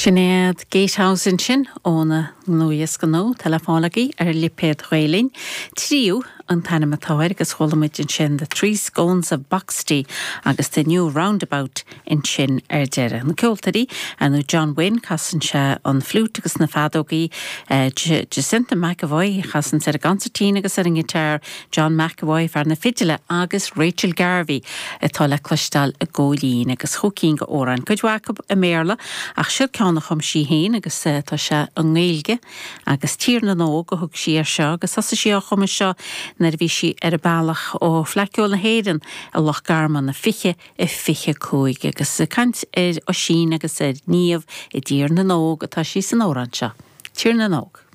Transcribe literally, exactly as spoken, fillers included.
Sin iad Gatehouse ansin óna nuadhiosca nua atá le fáil agaibh ar lipéad Ghael-Linn. Tríú an t-ainm atá air agus chuala muid ansin The Three Scones of Boxty agus The New Roundabout ansin ar deireadh. Na ceoltóirí nó John Wynne casann sé an fliúit agus na feadógaí eh, Jacinta McAvoy chasann ar an gconsairtín agus ar an ngiotár John McAvoy fear na fidile agus Rachel Garvey atá le cloisteáil i gcóilín agus chúig d'amhráin. Cuid acu i mBéarla ach seo ceann a chum sí féin agus eh, tá sé i nGaeilge agus Tír na nÓg a thug sí air seo agus thosaigh sí á chumadh seo nuair a bhí sí ar a bealach ó Fhleadh Cheoil na hÉireann i Loch Garman na fiche i fiche cúig agus caint ar Oisín agus ar Niamh i dTír na nÓg atá sí san amhrán seo. Tír na nÓg.